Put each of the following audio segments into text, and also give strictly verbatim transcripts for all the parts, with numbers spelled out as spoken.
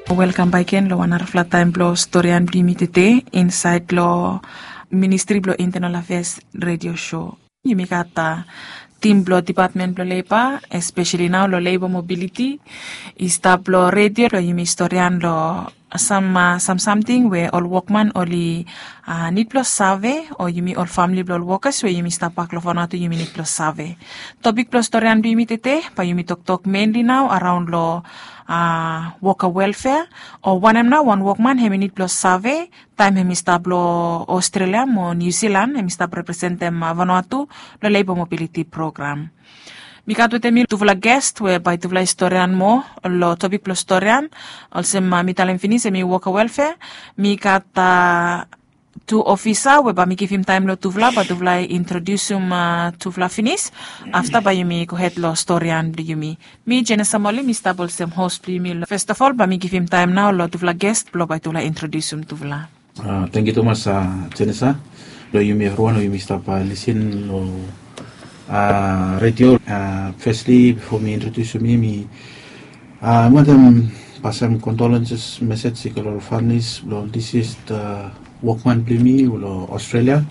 Welkam bakegen long wan narafala taem blong storian blong yumi tede insaed long Ministri blong Intenal Afeas redio sho. Yumi gat tim blong depatmen blong leba, espeseli nao long leba mobiliti, i stap long redio blong yumi storian long sam samsamting we ol wokman oli nid blong save, o yumi ol famili blong ol wokas we yumi stap bak long Vanuatu yumi nid blong save. Topik blong storian blong yumi tede bae yumi toktok menli nao araon long woka welfea, o wanem nao wan wokman hem i nid blong save taem hem i stap long Australia mo New Zealand hem i stap representem Vanuatu long leba mobiliti program. Mi gat wetem mi tufala gest we bae tufala i storian moa long topik blong storian. Olsem mi talem finis hem i woka welfea. Mi gat tu ofisa we bae mi givim taem long tufala bae tufala i introdiusim tufala finis. Afta bae yumi gohed long storian blong yumi. Mi Jenesa Moli mi stap olsem hos blong yumi. Festafol bae mi givim taem nao long tufala gest blong bae tufala i introdiusim tufala. Tangkiu tumas Jenesa. Long yumi evriwan we yumi stap lisin long redio. Fesli bifo mi introdiusim mi, mi wantem pasem kondolenses mesej i go long ol familis blong ol disis wokman blong yumi long Australia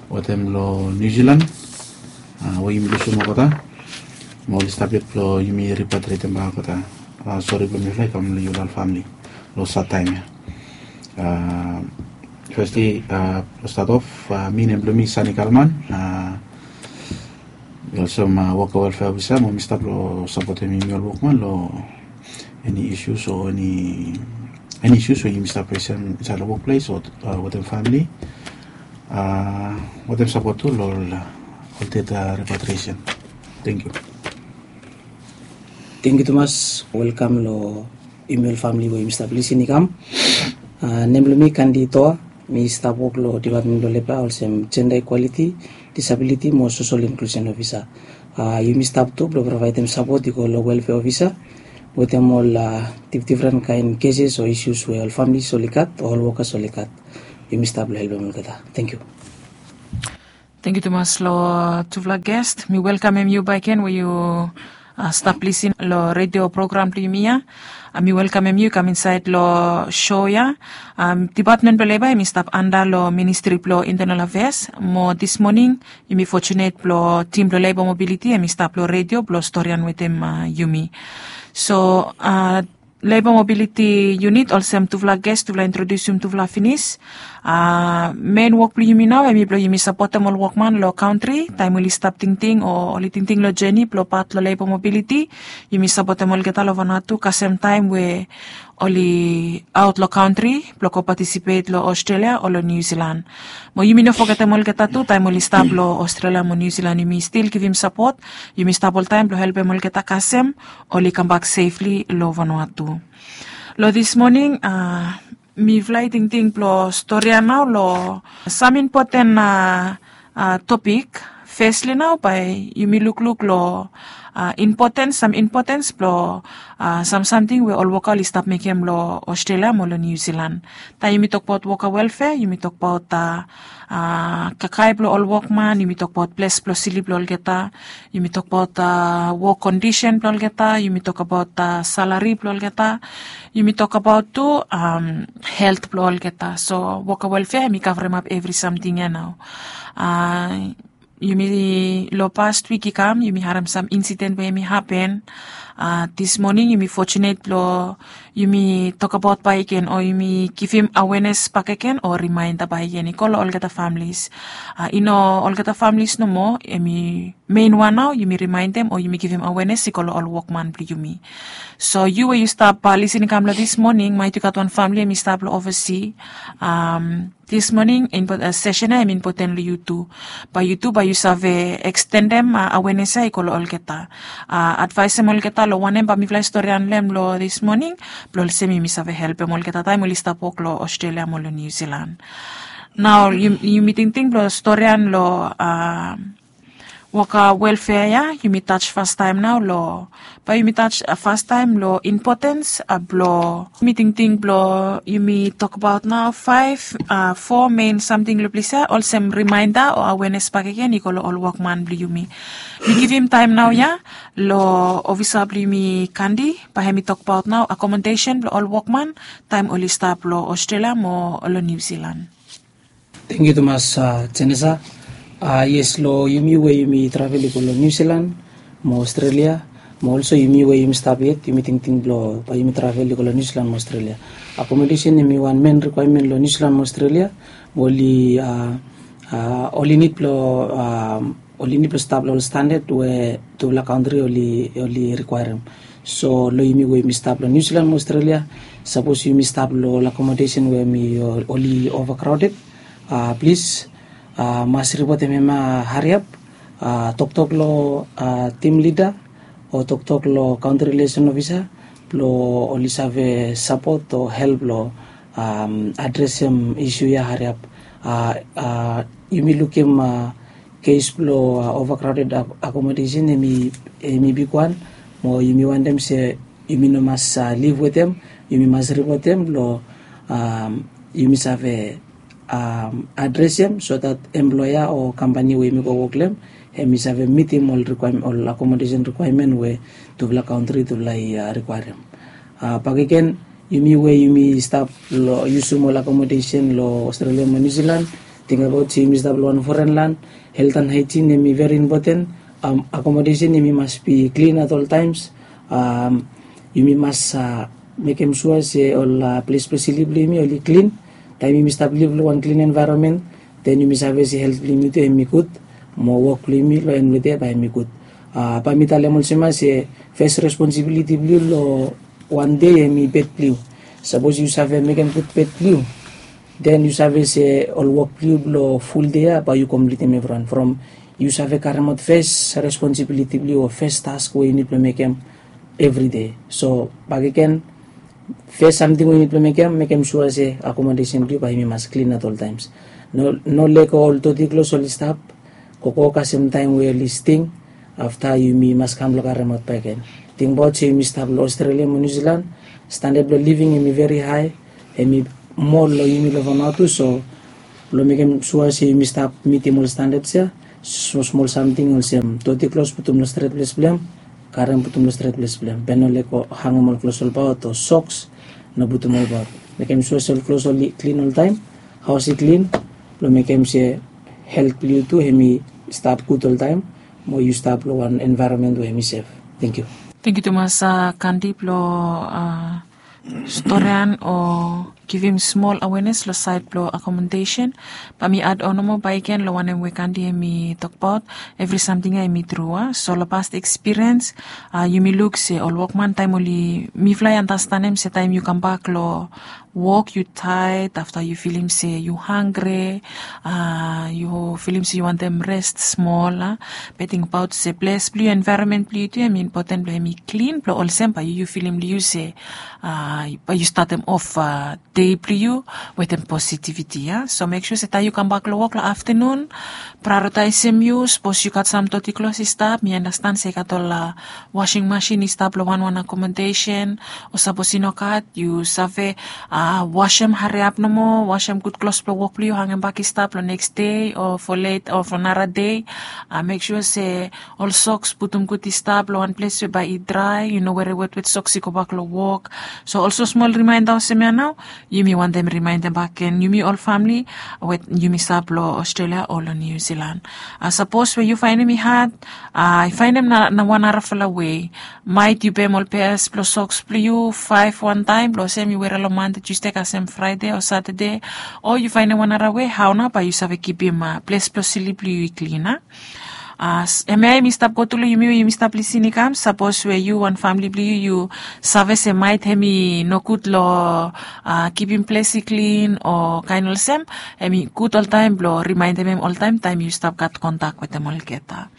wetem long New Zealand we yumi lusim olgeta. Mo oli stap yet blong yumi ripatriatem bak olgeta. Sori blong mifala i kam long yufala ol famili long sad taem ya. Fesli, blong stat of, mi nem blong mi Sani Kalman. Mi olsem woka welfea ofisa mo mi stap long sapotem yumi ol wokman long eni isus o eni isus we yumi stap fesem insaed long wokples o wetem famili. Wetem sapot tu long ol ded repatriesen. Tangkiu. Tangkiu tumas. Welkam long yumi ol famili we yumi stap lisin i kam. Nem blong mi Kandi Toa. Mi stap wok long depatmen blong leba olsem jenda ikwaliti, disabiliti mo sosol inklusen ofisa. Yumi stap tu blong provaedem sapot i go long welfea ofisa wetem ol difdifren kaen keses o isus we ol familis oli gat o ol wokas oli gat. Yumi stap blong helpem olgeta. Tangkiu. Tangkiu tumas long tufala gest. Mi welkamem yu bakegen we yu stap lisin long redio program blong yumi ya. Mi welkamem yu i kam insaed long sho ya. Depatmen blong leba hem i stap anda long ministri blong intenal afeas mo dis moning yumi fotunet blong tim blong leba mobiliti hem i stap long redio blong storian wetem yumi. So leba mobiliti yunit olsem tufala gest tufala introdiusim tufala finis. Men wok blong yumi nao hem i blong yumi sapotem ol wokman long kantri taem oli stap tingting o oli tingting long jeni blong pat long leba mobiliti. Yumi sapotem olgeta long Vanuatu kasem taem we oli aot long kantri blong go patisipet long Australia o long New Zealand. Mo yumi no fogetem olgeta tu taem oli stap long Australia mo New Zealand yumi stil givim sapot. Yumi stap oltaem blong helpem olgeta kasem oli kambak sefli long Vanuatu. Long dis moning mifala i tingting blong storian nao long sam impoten topik. Fesli nao bae yumi lukluk long impotens sam impotens blong sam samting we ol woka oli stap mekem long Australia mo long New Zealand. Taem yumi tokbaot woka welfea yumi tokbaot kakae blong ol wokman, yumi tokbaot ples blong slip blong olgeta, yumi tokbaot wok kondisen blong olgeta, yumi tokbaot salari blong olgeta, yumi tokbaot tu helt blong olgeta. So woka welfea hem i kavremap evri samting ya nao. Yumi long past wik i kam yumi harem sam insiden we hem i hapen. Dis moning yumi fotunet blong yumi tokbaot bakegen o yumi givim awenes bakegen o rimaenda bakegen i go long olgeta familis. I no olgeta familis nomo hem i mein wan nao yumi rimaendem o yumi givim awenes i go long ol wokman blong yumi. So yu we yu stap lisin i kam long dis moning maet yu gat wan famili hem i stap long ovasi. Dis moning sesen ya hem impoten long yu tu. Bae yu tu bae yu save ekstendem awenes ya i go long olgeta. Advaesem olgeta long wanem bae mifala i storian long hem long dis moning blong olsem yumi save helpem olgeta taem oli stap wok long Australia mo long New Zealand. Nao yumi tingting blong storian long Woka welfea ya yumi taj fastaem nao long, bae yumi taj fastaem long impotens blong yumi tingting blong yumi tokbaot nao faef, fo mein samting long ples ya olsem rimaenda o awenes bakegen i go long ol wokman blong yumi. Mi givim taem nao ya long ofisa blong yumi Kandi, bae hem i tokbaot nao akomodesen blong ol wokman taem oli stap long Australia mo long New Zealand. Tengkiu tumas, Jenesa. Yes, long yumi we yumi travel i go long New Zealand mo Australia, mo olso yumi we yumi stap yet yumi tingting blong bae yumi travel i go long New Zealand mo Australia, akomodesen hem i wan men rikwaemen long New Zealand mo Australia. Oli oli nid blong oli nid blong stap long ol standad we tufala kantri oli rikwaerem. So long yumi we yumi stap long New Zealand mo Australia, sapos yumi stap long ol akomodesen we hem i oli ova kraoded, plis mas ripotem hem ya hariap. Toktok long tim lida o toktok long kantri rilesen ofisa blong oli save sapot o help long adresem isu ya hariap. Yumi lukim kes blong ova kraoded akomodesen hem i bigwan, mo yumi wantem se yumi no mas liv wetem, yumi mas ripotem blong yumi save adresem so dat emploea o kampani we yumi go wok long hem hem i save mitim ol akomodesen rikwaemen we tufala kantri tufala i rikwaerem. Bakegen, yumi we yumi stap long yusum ol akomodesen long Australia mo New Zealand, tingabaot se yumi stap long wan foren lan. Helt and haijin hem i veri impoten. Akomodesen hem i mas bi klin at ol taems. Yumi mas mekem sua se ol ples blong slip blong yumi oli klin. Taem yumi stap liv long wan klin envaeronmen, den yumi save se helt blong yumi tu hem i gud, mo wok blong yumi long en blong dei bae hem i gud. Bae mi talem olsem ya se fes responsibiliti blong yu long wan dei hem i bed blong yu. Sapos yu save mekem gud bed blong yu, den yu save se ol wok blong yu blong ful dei ya bae yu komplitim evriwan from yu save karemaot fes responsibiliti blong yu o fes task we yu nid blong mekem evri dei. So bakegen, fes samting we yu nid blong mekem, mekem sua se akomodesen blong yu bae hem i mas klin at ol taems. No lego ol doti klos oli stap gogo kasem taem we oli sting. Afta yumi mas kam blong karemaot bakegen. Tingbaot se yumi stap long Australia mo New Zealand, standad blong living hem i veri hae, hem i moa long yumi long Vanuatu. So blong mekem sua se yumi stap mitim ol standads ya, smol smol samting olsem doti klos putum long stret ples blong hem, karem putum long stret ples blong hem, be no lego hangem ol klos olbaot o soks, no putum olbaot. Mekem sua se ol klos oli klin oltaem, haos i klin, blong mekem se helt blong yu tu hem i stap gud oltaem, mo yu stap long wan envaeronmen we hem i sef. Tengkiu. Tengkiu tumas, Kandi, blong storian o givim smol awenes long saed blong akomodesen. Bae mi ad on nomo bakegen long wanem we Kandi hem i tokbaot. Evri samting ya hem i tru, a? So long past ekspiriens, yumi luk se ol wokman taem oli, mifala i andastanem se taem yu kambak long wok yu taed, afta yu filim se yu hanggre, yu filim se yu wantem res smol, a? Be tingbaot se ples blong yu, envaeronmen blong yu tu hem i impoten blong hem i klin, blong olsem bae yu filim long yu se bae yu statem of dei blong yu wetem positiviti, a? So mek sua se taem yu kambak long wok long aftanun, praeoritaesem yu. Sapos yu gat sam doti klos i stap, mi andastan se i gat ol wasing masin i stap long wanwan akomodesen, o sapos i no gat, yu save wasem hariap nomo, wasem gud klos blong wok blong yu, hangebak i stap long neks dei o fo let o fo nara dei. Mek sua se ol soks putum gud i stap long wan ples we bae i drae, yu no were wetwet soks i gobak long wok. So olsem smol rimaenda olsem ya nao, yumi wantem rimaendem bakegen yumi ol famle we yumi stap long Australia o long New Zealand. Sapos we yu faenem i had, i faenem na wan narafala wei. Maet yu pem ol peas blong soks blong yu faef wantaem, blong olsem yu were long Mande, Tusde kasem Fraede o Satade, o yu faenem wan nara wei hao nao bae yu save kipim ples blong slip blong yu i klin, a? Hemia hem i stap go tu long yumi we yumi stap lisin i kam. Sapos we yu wan famle blong yu yu save se maet hem i nogud long kipim ples i klin o kaen olsem, hem i gud oltaem blong rimaendem hem oltaem taem yu stap gat kontak wetem olgeta.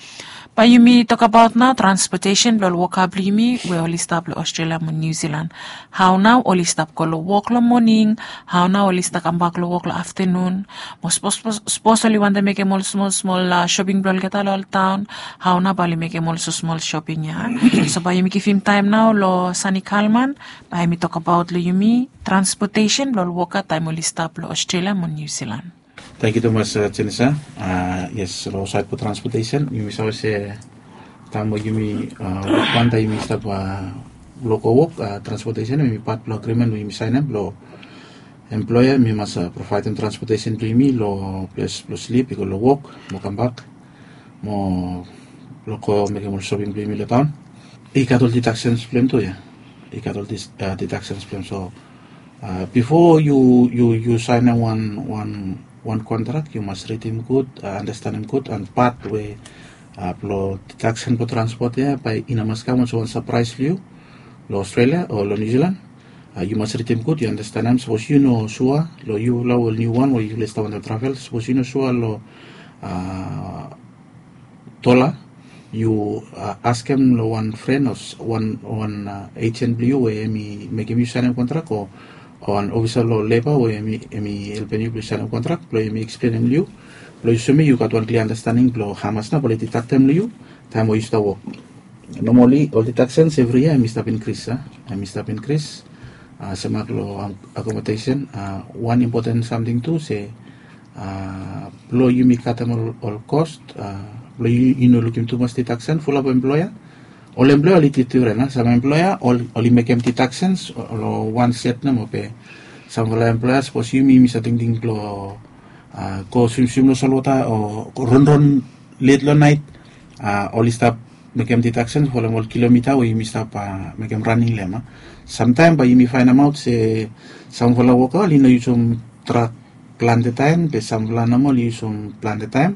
Bae yumi tokabaot nao transpotesen blong ol woka blong yumi we oli stap long Australia mo Niu Silan. Hao nao oli stap go long wok long moning? Hao nao oli stap kambak long wok long aftenun? Mo sapos oli wantem mekem ol smol smol shoping blong olgeta long ol taon, hao nao bae oli mekem ol smol shoping ya? So bae yumi givim taem nao long Sani Kalman, bae hemi tokabaot long yumi transpotesen blong ol woka taem oli stap long Australia mo Niu Silan. Tangkiu tumas, Jenisa. Yes, long saed blong transpotesen yumi save se taem we yumi wokman taem yumi stap long go wok, transpotesen hemi pat blong agrimen we yumi saenem blong emploea hemi mas provaedem transpotesen blong yumi long ples blong slip i go long wok mo kambak mo blong go mekem ol shoping blong yumi long taon. I gat ol didaksens blong hem tu ya. I gat ol didaksens blong hem. So bifo yu saenem wan kontrak yu mas ridim gud, andastanem gud on pat we blong didaksen blong transpot ya bae i no mas kam olsem wan sapraes long yu long Australia o long Niu Silan. Yu mas ridim gud, yu andastanem sapos yu no sua long yufala ol niuwan we yufala i stap wantaem travel, sapos yu no sua long dola, yu askem long wan fren o wan ejen blong yu we hemi mekem yu saenem kontrak o wan ofisa blong leba we hemi helpem yu blong yu saenem kontrak blong hemi eksplenem long yu blong yu soem yu gat wan klia andastaning blong hamas nao bae oli didaktem long yu taem we yu stap wok. Nomali ol didaksens evri yia hemi stap inkris a hemi stap inkris. Semak long akomodesen, wan impoten samting tu se blong yumi katem ol kos blong yu no lukim tumas didaksen fulap emploea. Ol emploea oli difren a sam emploea oli mekem didaksens long wan set nomo be samfala emploea sapos yumi yumi save tingting blong go swimswim long solwota o ronron let long naet, oli stap mekem didaksen folem ol kilomita we yumi stap mekem raning long hem a. Samtaem bae yumi faenemaot se samfala woka oli no yusum trak plante taem be samfala nomo oli yusum plante taem.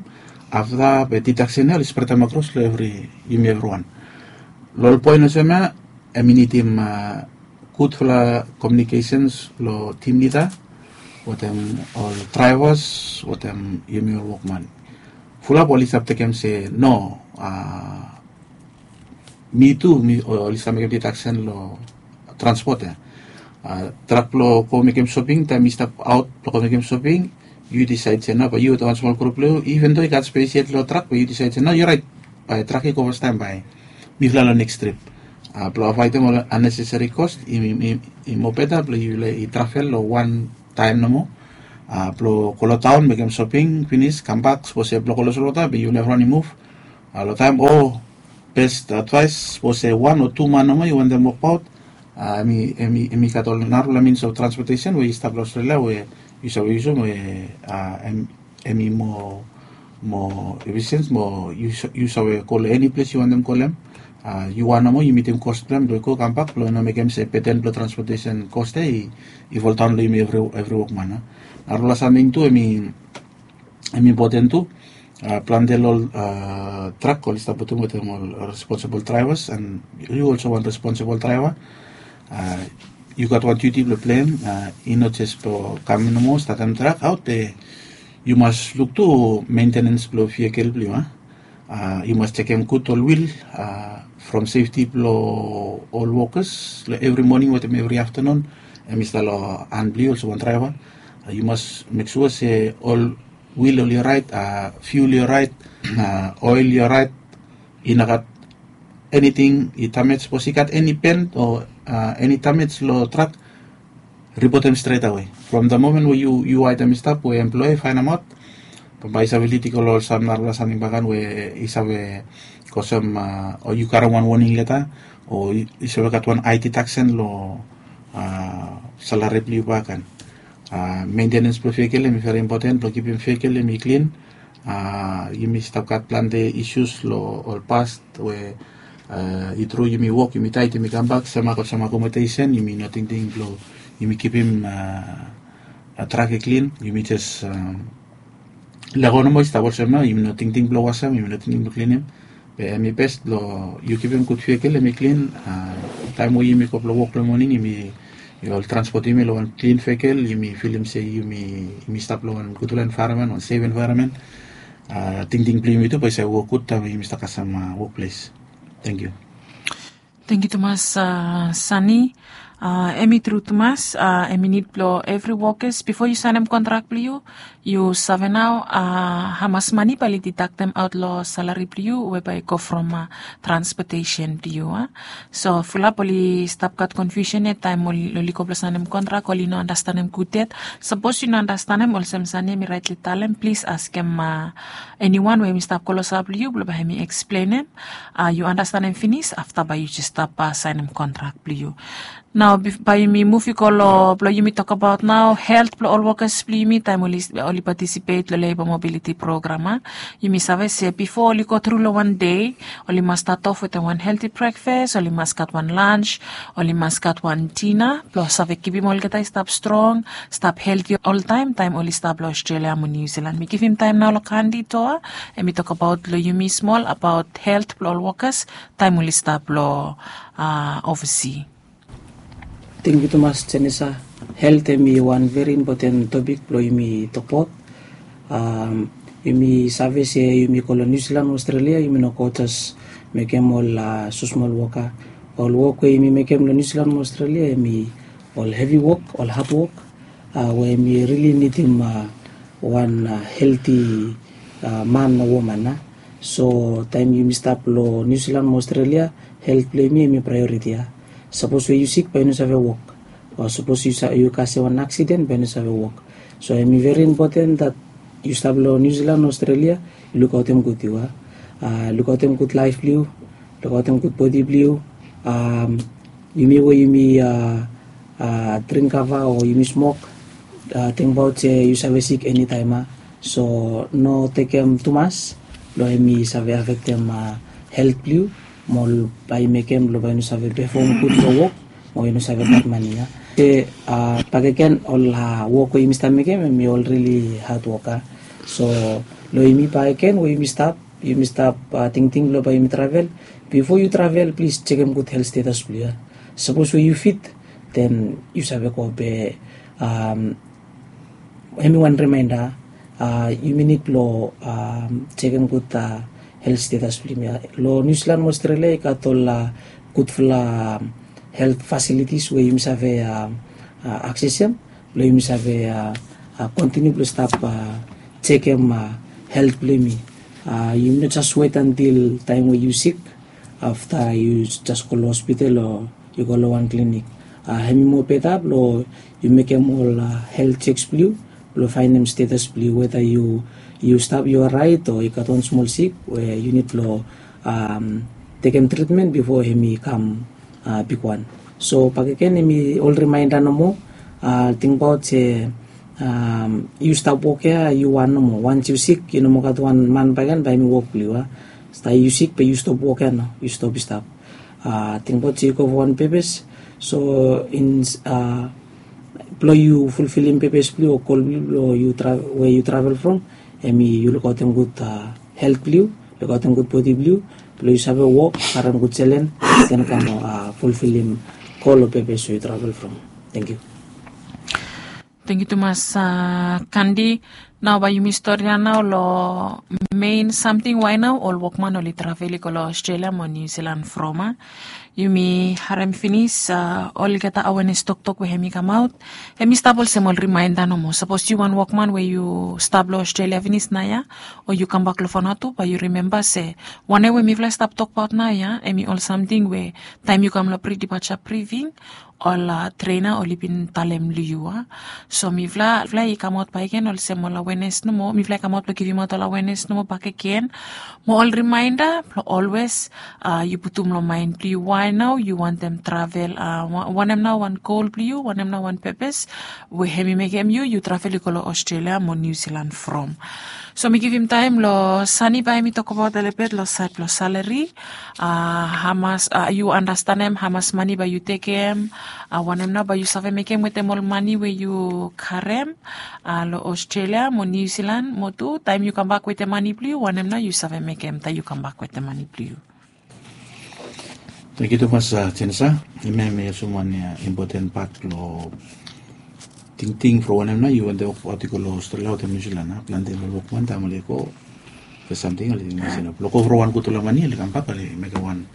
Afta be didaksen ya oli spretem akros long evri yumi evriwan. Long ol poen olsem ya hemi nidim gudfala komiunikesens long tim lida wetem ol draevas wetem yumi ol wokman. Fulap oli stap tekem se no, mi tu oli stap mekem didaksen long transpot ya. Trak blong go mekem soping taem mi stap aot blong go mekem soping, yu disaed se no bae yu wetem wan smol grup blong yu iven do i gat spes yet long trak bae yu disaed se no yu raet, bae trak i go fastaem bae mifala long neks trip. Blong avaedem ol anneseseri kos i mobeta blong yufala i travel long wan taem nomo blong go long taon mekem soping finis kambak sapos ya blong go long solwota be yufala evriwan i muv long taem o bes advaes sapos ya wan o tu man nomo yu wantem wokbaot. Hemi gat ol narafala mins of transpotesen we i stap long Australia we yu save yusum we hemi moa efisens mo yu save go long eni ples yu wantem go long hem. Yu wan nomo yu mitim kos blong hem blong i go kambak blong i no mekem se beten blong transpotesen kos ya i foldaon long yumi evri wokman. Narafala samting tu hemi impoten tu. Plante long ol trak oli stap putum wetem ol responsibol draevas an yu olsem wan responsibol draeva yu gat wan diuti blong pleim. I no jes blong kam nomo statem trak aot be yu mas luk tu mentenens blong vikel blong yu a. Yu mas jekem gud ol wil from sefti blong ol wokas long evri moning wetem evri aftanun. Hemi stap long han blong yu olsem wan draeva. Yu mas mek sua se ol wil oli oraet, fiul i oraet, oel i oraet, i no gat eniting i damej sapos i gat eni ben o eni damej long trak, ripotem stretawe from da momen we yu waetem i stap we emploea i faenemaot. Bambae i save lidiko long ol sam narafala samting bakan we i save kosem o yu karim wan woning leta o i save gat wan aiti taksen long salari blong yu bakan. Mentenens blong vekel hem i veri impoten blong kipim vekel hem i klin. Yumi stap gat plante isus long ol past we i tru yumi wok yumi taet yumi kambak semak olsem akomodesen yumi no tingting blong yumi kipim trak i klin yumi jes lego nomo i stap olsem nao yumi no tingting blong wasem yumi no tingting blong klinim. Be hem i bes blong yu kipim gud vekel hem i klin. Taem we yumi go blong wok long moning yumi ol transpot yumi long wan klin vekel yumi filim se yumi stap long wan gudfala envaeronmen wan sef envaeronmen. tingting blong yumi tu bae i save wok gud taem we yumi stap kasem wokples. Tangkiu. Tangkiu tumas, Sani. Em i tru tumas, em i nid blong evri wokas bifo yu saenem kontrak blong yu, yu save nao hamas mani bae oli didaktem aot long salari blong yu we bae i go from transpotesen blong yu. So fulap oli stap gat konfiusen yet taem oli go blong saenem kontrak, oli no anastenem gud yet. Sapos yu no anastenem olsem Sani em i raetli talem, plis askem eniwan we em i stap klosap long yu blong bae hem i eksplenem. Yu anastenem finis, afta bae yu jes stap saenem kontrak blong yu. Nao bae yumi muv i go long blong yumi tokbaot nao helt blong ol wokas blong yumi taem oli patisipet long leba mobiliti program. Yumi save se bifo oli go tru long wan dei, oli mas stat of wetem wan helti brekfas, oli mas gat wan lans, oli mas gat wan dina blong save kipim olgeta i stap strong, stap helti oltaem taem oli stap long Australia mo New Zealand. Mi givim taem nao long Kandi Toa, em i tokbaot long yumi smol abaot helt blong ol wokas taem oli stap long ovasi. Tangkiu tumas, Jenisa. Helt em i wan veri impoten topik blong yumi tokbaot. Yumi save se yumi go long Niu Silan, Australia, yumi no go jes mekem ol smosmol wok ya. Ol wok we yumi mekem long Niu Silan, Australia, em i ol hevi wok, ol had wok, we yumi rili nidim wan helti man o woman ya. So taem yumi stap long Niu Silan mo Australia, helt blong yumi em i praeoriti ya. Sapos we yu sik bae yu no save wok, o sapos yu kasem wan aksiden bae yu no save wok. So em i veri impoten dat yu stap long Niu Silan, Australia, yu lukaotem gud yu ya. Lukaotem gud laef blong yu, lukaotem gud bodi blong yu. Yumi we yumi dring kava o yumi smok, tingbaot se yu save sik enitaem ya. So no tekem tumas, long em i save afektem helt blong yu, mo bae i mekem long bae yu no save pefom gud long wok, mo yu no save gat mani ya. Se bakegen ol wok we yumi stap mekem em i ol rili had wok ya. So long yumi bakegen we yumi stap, yumi stap tingting long bae yumi travel. Bifo yu travel, plis jekem gud helt stetas blong yu ya. Sapos we yu fit, den yu save go, be em i wan rimaenda, yumi nid blong jekem gud helt stetas blong yumi ya. Long Niu Silan mo Australia i gat ol gudfala helt fasilitis we yumi save aksesem blong yumi save kontiniu blong stap jekem helt blong yumi. Yumi no jes wet antil taem we yu sik, afta yu jes go long hospital o yu go long wan klinik. Em i moa beta blong yu mekem ol helt jeks blong yu blong faenem stetas blong yu, weta yu stap, yu oraet o i gat wan smol sik we yu nid blong tekem tritmen bifo em i kam bigwan. So bakegen em i ol rimaenda nomo. Tingbaot se yu stap wok ya yu wan nomo. Wans yu sik, yu no moa gat wan man bakegen bae em i wok blong yu ya. Afta yu sik be yu stop wok ya nao, yu stop i stap. Tingbaot se yu go fo wan pepes. So blong yu fulfilim pepes blong yu o gol blong yu blong we yu travel from, em i yu lukaotem gud helt blong yu, lukaotem gud bodi blong yu, blong yu save wok, karem gud selen, den kam fulfilim gol o pepes we yu travel from. Tangkiu. Tangkiu tumas, Kandi. Nao bae yumi storian nao long mein samting wae nao ol wokman oli travel i go long Australia mo Niu Silan from ya. Yumi harem finis olgeta awenes toktok we hem i kamaot. Hem i stap olsem ol rimaenda nomo. Sapos yu wan wokman we yu stap long Australia finis naoia, o yu kambak long Vanuatu, bae yu rimemba se wanem we mifala i stap tokbaot naoia, hem i ol samting we taem yu kam long pre-departure briefing, ol trena oli bin talem long yu ya. So mifala i kamaot bakegen olsem ol awenes nomo, mifala i kamaot blong givimaot ol awenes nomo bakegen, mo ol rimaenda blong olwes yu putum long maen blong yu wae nao yu wantem travel, wanem nao wan gol blong yu, wanem nao wan pepes we hem i mekem yu yu travel i go long Australia mo Niu Silan from. So mi givim taem long Sani bae hem i tokbaot olibet long saed blong salari. Hamas yu anastenem, hamas mani bae yu tekem, wanem nao bae yu save mekem wetem ol mani we yu karem long Australia mo Niu Silan, mo tu taem yu kambak wetem mani blong yu, wanem nao yu save mekem taem yu kambak wetem mani blong yu. Tangkiu tumas, Jenisa. Hemia hem i olsem wan impoten pat blong tingting from wanem nao yu wantem wokbaot i go long Australia wetem Niu Silan. Plante long wokman taem oli go Fes samting oli mas inap long go from wan gutpela mani oli kambak oli mekem wan,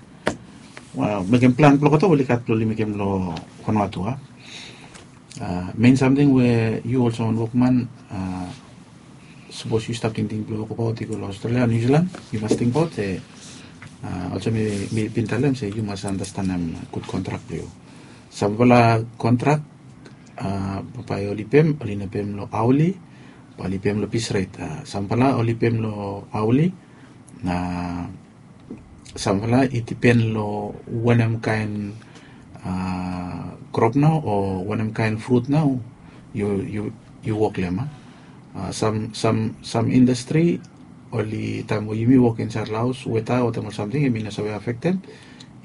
mekem plan blong olgeta oli gat blong oli mekem long Vanuatu a. Mein samting we yu olsem wan wokman, sapos yu stap tingting blong wokabaut i go long Australia o New Zealand, yu mas tingbaut se olsem mi bin talem se yu mas andastanem gud kontrak blong yu. Sampela kontrak bae oli pem oli no pem long aoli, bae oli pem long pis ret. Sampela oli pem long aoli, na sampela i dipen long wanem kain krop nao o wanem kain frut nao yu wok long em a. Sam indastri oli taem we yumi wok insaed long haos weta o taem ol samting em i no save afektem,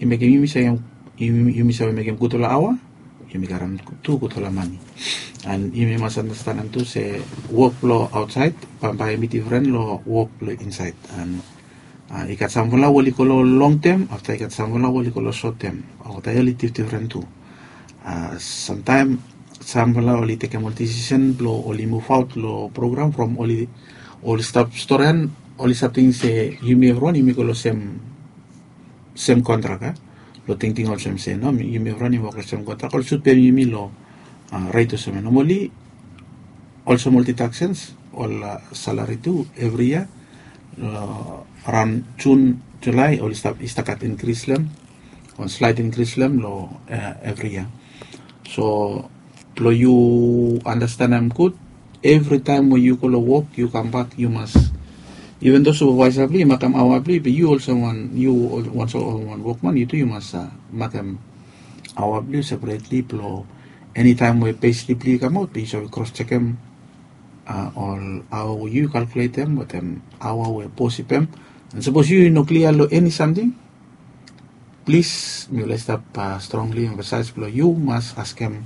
i mekem yumi save mekem gudfala aoa, yumi karem tu gudfala mani. An yumi mas anastanem tu se wok blong aotsaed bambae em i difren long wok blong insaed. An i gat samfala we oli go long long tem, afta i gat samfala we oli go long sot tem. Olgeta ya oli difdifren tu. Samtaem samfala oli tekem ol disisen blong oli muvaot long program from oli stap storian, oli stap ting se yumi evriwan yumi go long sem sem kontrak a. Long tingting olsem se no yumi evriwan yumi wok long sem kontrak, oli sut pem yumi long ret olsem ya. Nomali olsem ol didaksens ol salari tu evri yia long raon Jun, Julai oli stap i stap gat inkris long em, wan slaet inkris long em long evri yia. So blong yu anastanem gud, evritaem we yu go long wok yu kambak yu mas, iven do supervaesa blong yu i makem aoa blong yu, be yu olsem wan yu wan so wan wokman yu tu yu mas makem aoa blong yu separetli blong enitaem we peslip blong yu i kamaot be yu save kros jekem ol aoa we yu kalkuletem wetem aoa we bos i pem. An sapos yu i no klia long eni samting, plis mi laik stap strongli emfasaes blong yu mas askem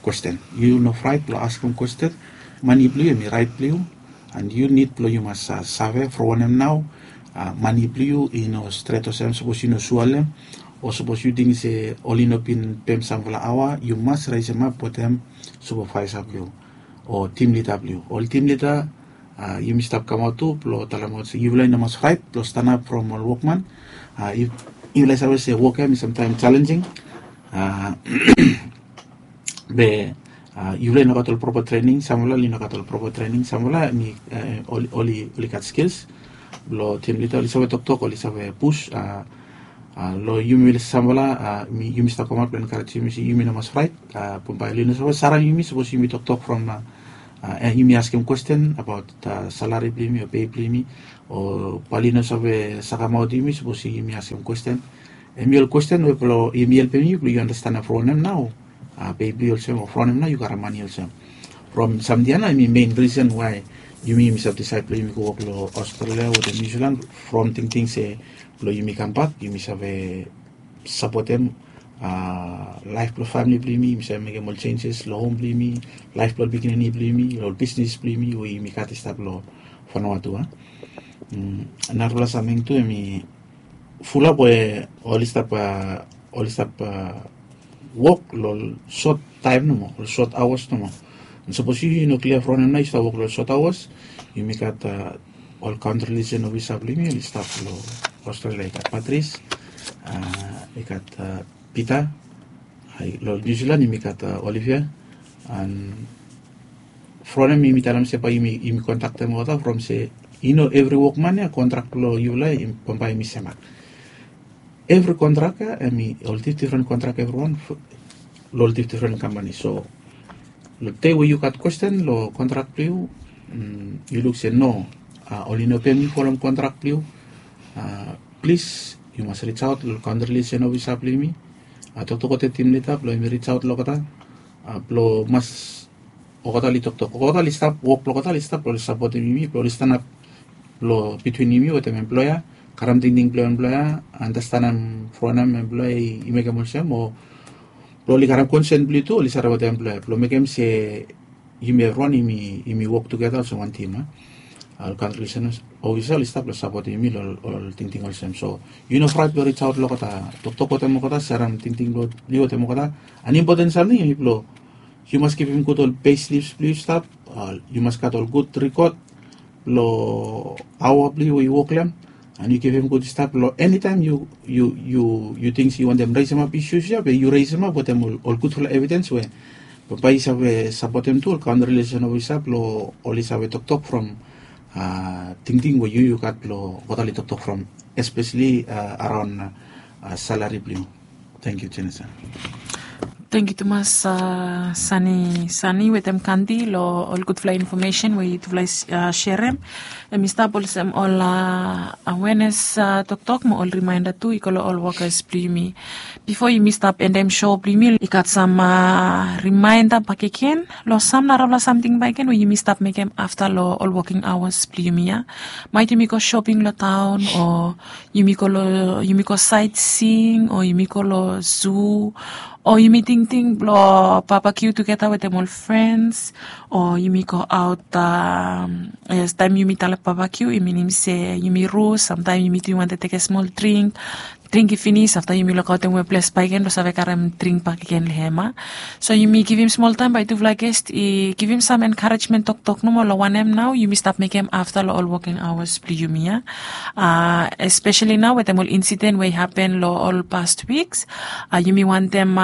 kwesten. Yu no fraet blong askem kwesten. Mani blong yu em i raet blong yu, an yu nid blong yu mas save from wanem nao mani blong yu i no stret olsem sapos yu no sua long em, o sapos yu ting se oli no bin pem samfala aoa yu mas resemap wetem supervaesa blong yu o tim lida blong yu. Ol tim lida yumi stap kamaot tu blong talemaot se yufala i no mas fraet blong stanap from ol wokman. Yufala i save se wok ya em i samtaem jalenjing, be yufala i no gat ol propa trening, samfala oli no gat ol propa trening, samfala em i oli gat skils. Blong tim lida oli save toktok oli save pus. Long yumi samfala yumi stap kamaot blong enkarejem yumi se yumi no mas fraet. Bambae oli no save sarem yumi sapos yumi toktok from yumi askem kwesten abaot salari blong yumi o pei blong yumi, o bae oli no save sakamaot yumi sapos yumi askem kwesten. Em i ol kwesten we blong yumi helpem yu blong yu anastanem from wanem nao pei blong yu olsem o from wanem nao yu karem mani olsem. From samting ya nao em i mein risen wae yumi yumi save disaed blong yumi go wok long Australia wetem Niusilan, from tingting se blong yumi kambak yumi save sapotem laef blong famili blong yumi, yumi save mekem ol jenjes long hom blong yumi, laef blong ol pikinini blong yumi, ol bisnis blong yumi we yumi gat i stap long Vanuatu a. Narafala samting tu em i fulap we oli stap oli stap wok long ol sot taem nomo, ol sot aoas nomo. Sapos yu no klia from wanem nao yu stap wok long ol sot aoas, yumi gat ol kantri liaesen ofisa blong yumi oli stap long Australia, i gat Patris, i gat Pita, long Niusilan yumi gat Olivia. An from wanem yumi talem se bae yumi kontaktem olgeta from se i no evri wokman ya kontrak blong yufala bambae yumi semak. Evri kontrak ya em i ol difdifren kontrak evriwan long ol difdifren kampani. So long dei we yu gat kwesten long kontrak blong yu, yu luk se no, oli no pem yu folem kontrak blong yu, plis yu mas risaot long kantri liaesen ofisa blong yumi. Toktok wetem tim lida blong yumi risaot long olgeta blong mas olgeta oli toktok, olgeta oli stap, wok blong olgeta oli stap blong oli sapotem yumi blong oli stanap long bitwin yumi wetem emploea, karem tingting blong emploea, anastanem from wanem emploea i mekem olsem, o blong oli karem konsen blong yu tu oli save wetem emploea blong mekem se yumi evriwan yumi wok tugeta olsem wan tim a. Ol kantri liaesen ofisa oli stap blong sapotem yumi long ol tingting olsem. So yu no fraet blong risaot long olgeta, toktok wetem olgeta, serem tingting blong yu wetem olgeta. An impoten samting em i blong yu mas kipim gud ol pei slips blong yu i stap, yu mas gat ol gud rikot long aoa blong yu we yu wok long hem. And yu givim gud stap long enitaem yu yu yu yu ting se yu wantem resemap isus ya be yu resemap wetem ol gudfala evidens we bambae i save sapotem tu ol kaonri lesen of i sap long ol i save toktok from tingting we yu yu gat long wotali toktok from, espeseli araon salari blong yu. Tengkiu jenisa. Tengkiu tumas sani sani wetem kandi long ol gudfala infomesen we yutufala i serem. Em i stap olsem ol awenes toktok mo ol rimaenda tu i go long ol wokas blong yumi. Bifo yumi stap endem so blong yumi i gat sam rimaenda bakegen long sam narafala samting bakegen we yumi stap mekem afta long ol woking awas blong yumi ya. Maet yumi go shoping long taon o yumi go long yumi go saetsing o yumi go long zu o yumi tingting blong babakiu tugeta wetem ol frens o yumi go aot. Yes, taem yumi talep babakiu i minim se yumi rus samtaem yumi tu yumi wantem tekem smol dring. Dring i finis afta yumi lukaotem we ples bakegen blong save karem dring bakegen long hem a. So yumi givim smol taem bae tufala ges i givim sam enkarejmen toktok nomo long wanem nao yumi stap mekem afta long ol woking awas blong yumi ya. Espeseli nao wetem ol insiden we i hapen long ol past wiks, yumi wantem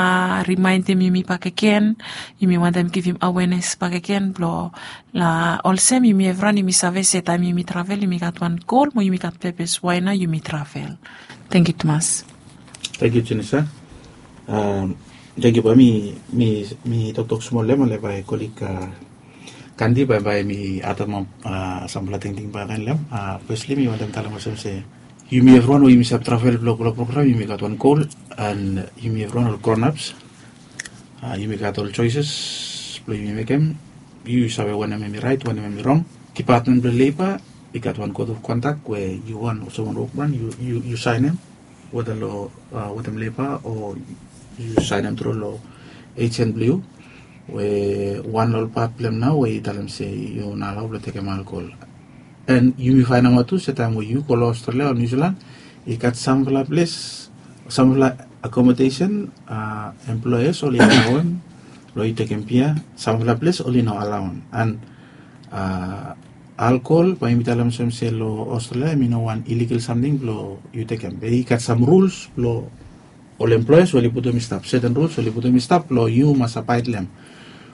rimaendem yumi bakegen. Yumi wantem givim awenes bakegen blong olsem yumi evriwan yumi save se taem yumi travel yumi gat wan gol mo yumi gat pepes wae nao yumi travel. Tengkiu tumas. Tengkiu jenisa. Tengkiu bae mi toktok smol long hem ale bae kolik kandi bae bae mi ademap samfala tingting bakegen long hem. Fesli mi wantem talem olsem se yumi evriwan we yumi save travel blong go long program yumi gat wan gol. And yumi evriwan ol gronaps yumi gat ol joeses blong yumi mekem. Yu save wanem em i raet wanem em i rong. Dipatmen blong leba i gat wan kot of kontak we yu wan olsem wan wokman yu saenem weda long wetem leba o yu saenem tru long ejen blong yu we wan long ol pat blong hem nao we i talem se yu no alao blong tekem alkol. And yumi faenemaot tu se taem we yu go long australia o niusilan i gat samfala ples samfala akomodesen employers oli alaoem blong yu tekem bia. Samfala ples oli no alaoem and alkol bae yumi talem olsem se long australia em i no wan iligal samting blong yu tekem be i gat sam ruls blong ol employers we oli putum i stap seten ruls we oli putum i stap blong yu mas abaed long hem.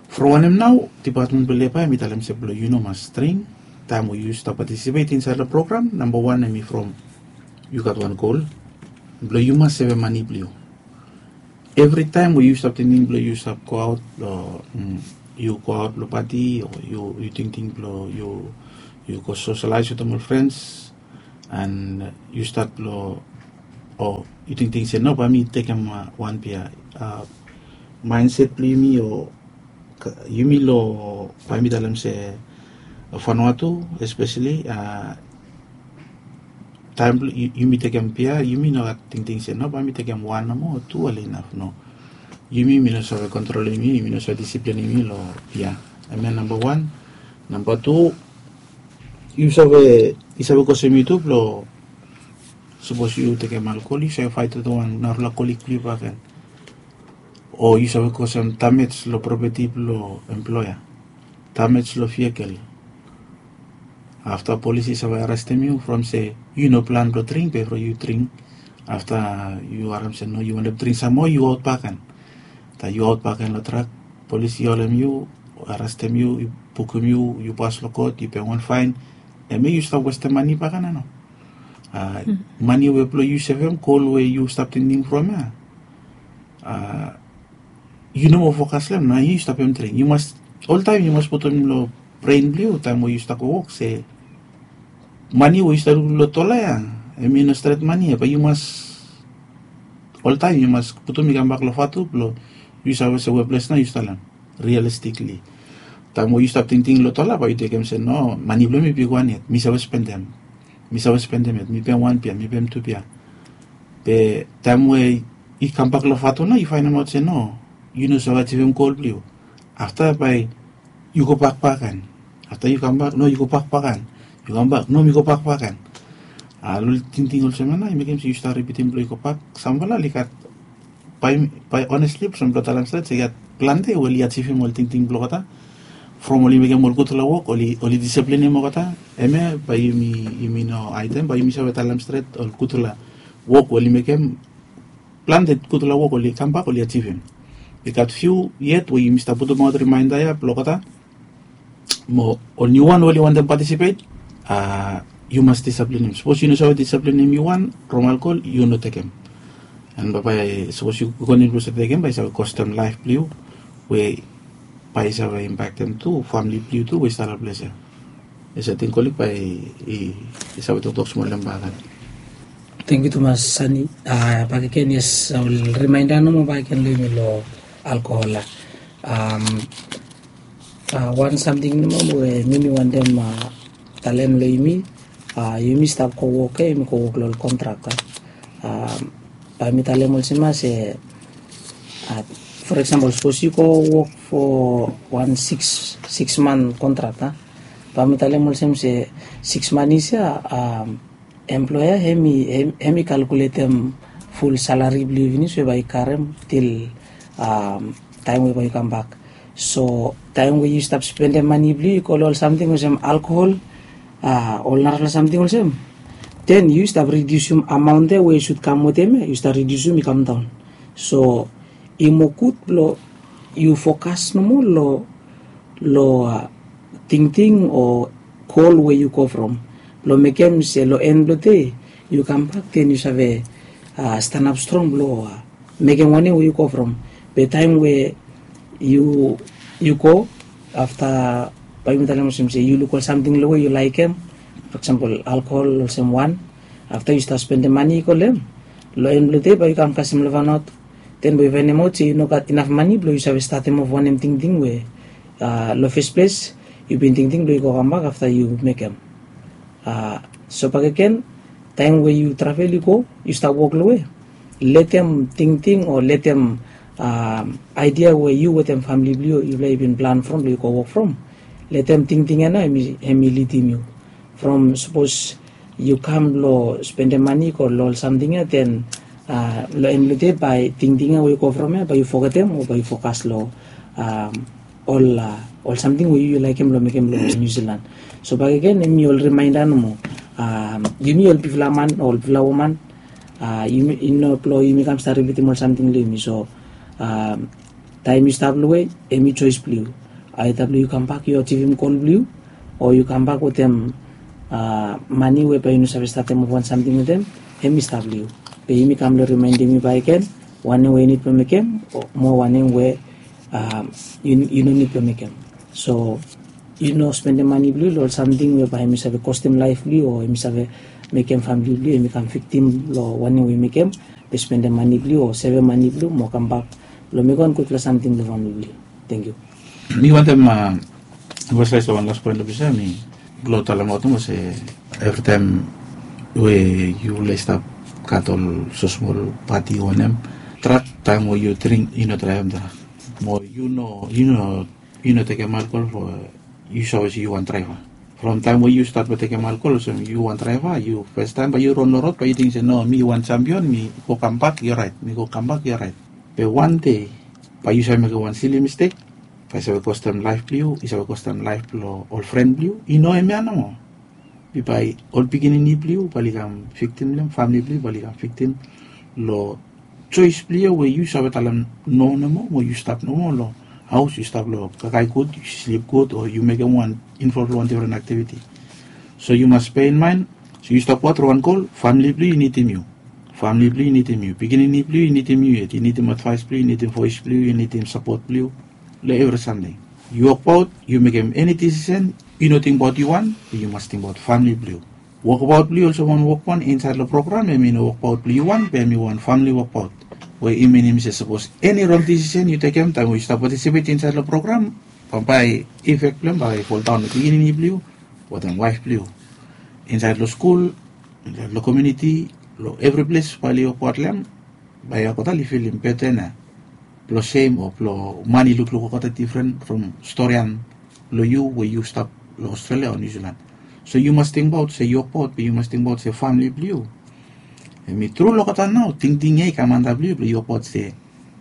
From wanem nao dipatmen blong leba em i talem se blong yu no mas dring taem we yu stap patisipet insaed long program namba wan em i from yu gat wan gol blong yu mas sevem mani blong yu. Evritaem we yu stap tingting blong yu stap goaot long yu goaot long pati o yu tingting blong yu go soselaes wetem ol frens and yu stat long o yu tingting se no bae mi tekem wan bia. Maenset blong yumi o yumi long bae mi talem se fanua tu espeseli taem blong yumi tekem bia yumi no gat tingting se no bae mi tekem wan nomo o tu oli inaf no. Yumi mi no save kontrolem yumi yumi no save disiplinim yumi long bia. Em ya namba wan. Namba tu yu save yu save kosem yu tu blong sapos yu tekem alkol yu save faetem wan narafala kolik blong yu bakegen o yu save kosem damej long propeti blong emploea, damej long vikel. Afta polis i save arestem yu from se yu no plan blong dring be from yu dring afta yu harem se no yu wantem dring sam moa yu aot bakegen. Taem yu aot bakegen long trak polis i holem yu, arestem yu, i bukim yu, yu pas long kot yu pem wan faen. Em ya yu stap westem mani bakegen a no? Mani we blong yu sevem gol we yu stap tingting from ya yu no moa fokas long em nao yu stap em dring yu mas oltaem yu mas putum long bren blong yu taem we yu stap go wok se mani we yu stap lukim long dola ya em i no stret mani ya bae yu mas oltaem yu mas putum i kambak long fatu blong yu save se weples nao yu stap long em. Rialistikli taem we yu stap tingting long dola bae yu tekem se no mani blong mi bigwan yet mi save spendem mi save spendem yet mi pem wan bia mi pem tu bia. Be taem we i kambak long fatu nao yu faenemaot se no yu no save ajivim gol blong yu. Afta bae yu go bak bakegen. Afta yu kambak no yu go bak bakegen. Yu kambak no mi go bak bakegen. A long tingting olsem ya nao i mekem se yu stap ripitim blong yu go bak samfala oli gat bae onesli olsem blong talem stret se i gat plante we oli ajivim ol tingting blong olgeta. from oli mekem ol gudfala wok, oli oli disiplinim olgeta. Hemia bae yumi yumi no aidem, bae yumi save talem stret ol gudfala wok we oli mekem. Plante gudfala wok oli kambak oli ajivim. I gat fiu yet we yumi stap putumaot rimainda ya blong olgeta. Mo ol niuwan we oli wantem patisipet, a yu mas disiplinim. Sapos yu no save disiplinim yu wan, from alkol yu no tekem. An bambae sapos yu konim blong save tekem, bae i save kostem laef blong yu, we bae i save impaktem tu famili blong yu tu we i stap long ples ya. Yes, ating kolik bae i save toktok smol long bagan. Tengkiu tumas, Sani. Bakegen, yes, ol rimainda nomo bakegen long yumi long alkohol ya. Wan samting nomo we mi mi wantem talem long yumi, yumi stap go wok ya, yumi go wok long ol kontrak ya. Bae mi talem olsem ya se, for eksempel, sapos yu go wok fo wan siks siks man kontrak ya, bae mi talem olsem se siks man isi ya, employa hem i kalkuletem ful salari blong yu finis we bae i karem til taem we bae i kambak. So taem we yu stap spendem mani blong yu i go long ol samting olsem alkohol, ol narafala samting olsem, den yu stap ridiusim amaon ya we yu sud kam wetem ya, yu stap ridiusim i kamdaon. So i moa gud blong yu fokas nomo long long tingting o gol we yu go from, blong mekem se long en blong dei yu kambak, den yu save stanap strong blong mekem wanem we yu go from. Be taem we yu yu go afta, bae yumi talem olsem se yu luk ol samting long we yu laekem, for eksempel alkohol olsem wan, afta yu stap spendem mani i go long hem, long en blong dei bae yu kam kasem long fanaot, den bae yu faenemaot se yu no gat inaf mani blong yu save statem of wanem tingting we long fes ples yu bin tingting blong yu go kambak afta yu mekem. So bakegen, taem we yu travel i go, yu stap wok long we, letem tingting o letem aedia we yu wetem famili blong yu, yufala i bin plan from blong yu go wok from, letem tingting ya nao hem i lidim yu. From sapos yu kam blong spendem mani go long ol samting ya, den long en blong dei bae tingting ya we yu go from ya bae yu fogetem o bae yu fokas long ol ol samting we yu yu laekem blong mekem long Niu Silan. So bakegen, hemi ol rimainda nomo. Yumi ol bigfala man o ol bigfala woman, yumi i no blong yumi kam stap ripitim ol samting long yumi. So taem yu stap long we, hemi joes blong yu. Aeda blong yu kambak yu ajivim gol blong yu, o yu kambak wetem mani we bae yu no save statem of wan samting wetem, hemi stap long yu. Be yumi kam long rimaendim yu bakegen wanem we yu nid blong mekem, o moa wanem we yu no nid blong mekem. So yu no spendem mani blong yu long ol samting we bae hemi save kostem laef blong yu o hemi save mekem famili blong yu hemi kam viktim long wanem we yu mekem. Be spendem mani blong yu o sevem mani blong yu mo kambak blong mekem wan gudfala samting long famili blong yu. Tengkiu. Mi wantem emfasaes long wan las poen long ples ya, mi blong talemaot olsem se evritaem we yufala i stap gat ol so smol pati o wanem, drak, taem we yu dring, yu no draevem drak. Mo yu no yu no yu no tekem alkol fo yu save se yu wan draeva. From taem we yu stat blong tekem alkol olsem yu wan draeva, yu fastaem bae yu ron long rod bae yu ting se no, mi wan jampion, mi go kambak i oraet, mi go kambak i oraet. Be wan dei bae yu save mekem wan sili mistek, bae i save kostem laef blong yu, i save kostem laef blong ol fren blong yu. I no hemia nomo. Be bae ol pikinini blong yu bae oli kam viktim long hem, famili blong yu bae oli kam viktim long joes blong yu we yu save talem no nomo, mo yu stap nomo long haos, yu stap long kakae gud, yu slip gud, o yu mekem wan involv long wan difren aktiviti. So yu mas peinmaen se yu stap wok long wan gol, famili blong yu i nidim yu. Famili blong yu i nidim yu, pikinini blong yu i nidim yu yet, i nidim advaes blong yu, i nidim voes blong yu, i nidim sapot blong yu long evri samting. Yu wokbaot, yu mekem eni disisen, yu no tingbaot yu wan, be yu mas tingbaot famili blong yu. Wokbaot blong yu olsem wan wokwan insaed long program, hemi no wokbaot blong yu wan, be hemi wan famili wokbaot. We i minim se sapos eni rong disisen yu tekem taem we yu stap patisipet insaed long program, bambae ifek blong hem bae i foldaon long pikinini blong yu wetem waef blong yu. Insaed long skul, insaed long komuniti, long evri ples bae oli wokbaot long hem, bae olgeta oli filim beten ya blong sem o blong man i lukluk olgeta difren from storian blong yu we yu stap long Australia o Niu Silan. So yu mas tingbaot se yu wokbaot, be yu mas tingbaot se famili blong yu. Hemi tru long olgeta nao tingting ya i kam antap long yu blong yu wokbaot se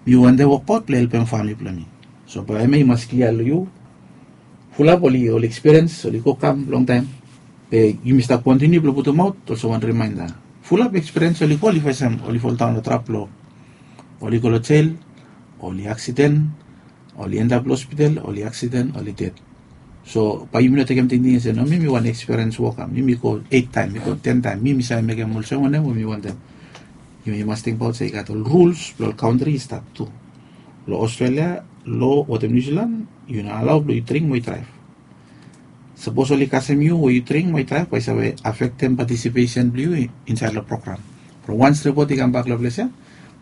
mi wantem wokbaot blong helpem famili blong mi. So bae hemia i mas klia long yu. Fulap oli oli ekspiriens oli go kam longtaem. Be yumi stap kontiniu blong putumaot olsem wan rimainda. Fulap ekspiriens oli go oli fesem oli foldaon long trap blong oli go long jel, oli aksiden, oli endap long hospital, oli aksiden, oli ded. So bae yumi no tekem tingting se no mi mi wan ekspiriens woka mi mi go eit taem mi go ten taem mi mi save mekem olsem wanem we mi wantem. Yumi mas tingbaot se i gat ol ruls blong ol kantri i stap tu. Long australia lo watem niu silan, yu no alao blong yu dring mo yu draev. Sapos oli kasem yu we yu dring mo yu draev bae i save afektem patisipesen blong yu insaed long program. From wans ripot i kambak long ples ya,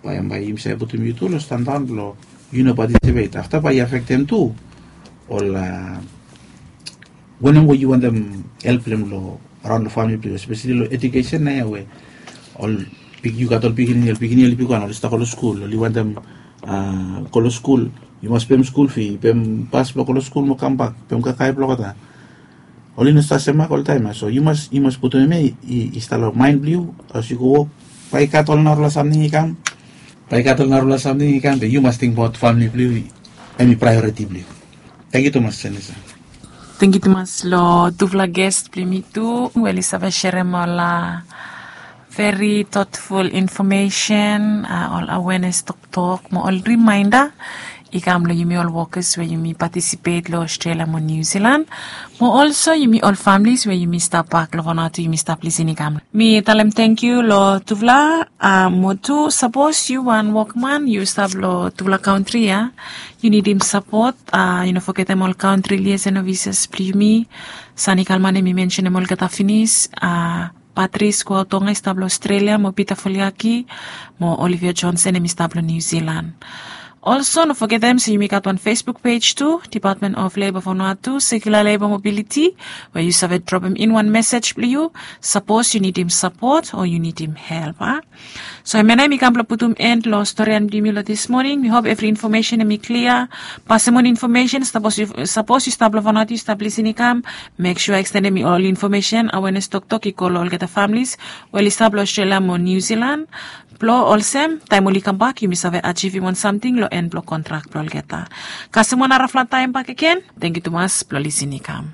bae em bae yumi save putum yu tu long standaon blong yu no patisipet afta bae i afektem tu ol wanem we yu wantem help blong em long raon long famili blong yu espesali long edukesen na ya we ol yu gat ol pikinini ol pikinini oli bigwan oli stap go long skul oli wantem go long skul. Yu mas pem skul fi pem pas blong go long skul mo kambak pem kakae blong olgeta. Oli no stap semak oltaem ya so yu mas yu mas putum em ya i stap long maen blong yu. As yu go wok bae i gat ol narafala samting i kam, bae i gat ol narafala samting i kam be yu mas tingbaot famili blong yu. Em i praeoriti blong yu. Tangkiu tumas senisa. Tangkiu tumas long tufala ges blong yumi tu we oli save serem ol veri totful infomesen, ol awenes toktok mo ol rimainda i kam long yumi ol wokas we yumi patisipet long australia mo niu silan, mo olso yumi ol familis we yumi stap bak long vanatu yumi stap lisin i kam. Mi talem tangkiu long tufala. Mo tu sapos yu wan wokman yu stap long tufala kantri ya, yu nidim sapot. Yu no fogetem ol kantri liasen ofises blong yumi. San i kalman em i mensenem olgeta finis. Patris kuaotonga i stap long australia mo pita foliaki mo olivia johnson em i stap long niu silan. Olso no fogetem se yumi gat wan facebook pej tu, department of leba fonua tu sekula leba mobiliti, we yu save dropem in wan mesej blong yu sapos yu nidim sapot o yu nidim help a. So em ya nao em i kam blong putum en long storian blong yumi long dismoning mi hop evri infomesen em i klia. Pasemon infomesen sapos yu stap long vanatu yu stap lisin i kam, mek sua ekstendem ol infomesen awenes toktok i go long olgeta familis we oli stap long australia mo niu silan, blong olsem taem oli kambak yumi save ajivim wan samting long en blong kontrak blong olgeta. Kasem wan narafala taem bakegen. Tangkiu tumas blong lisin i kam.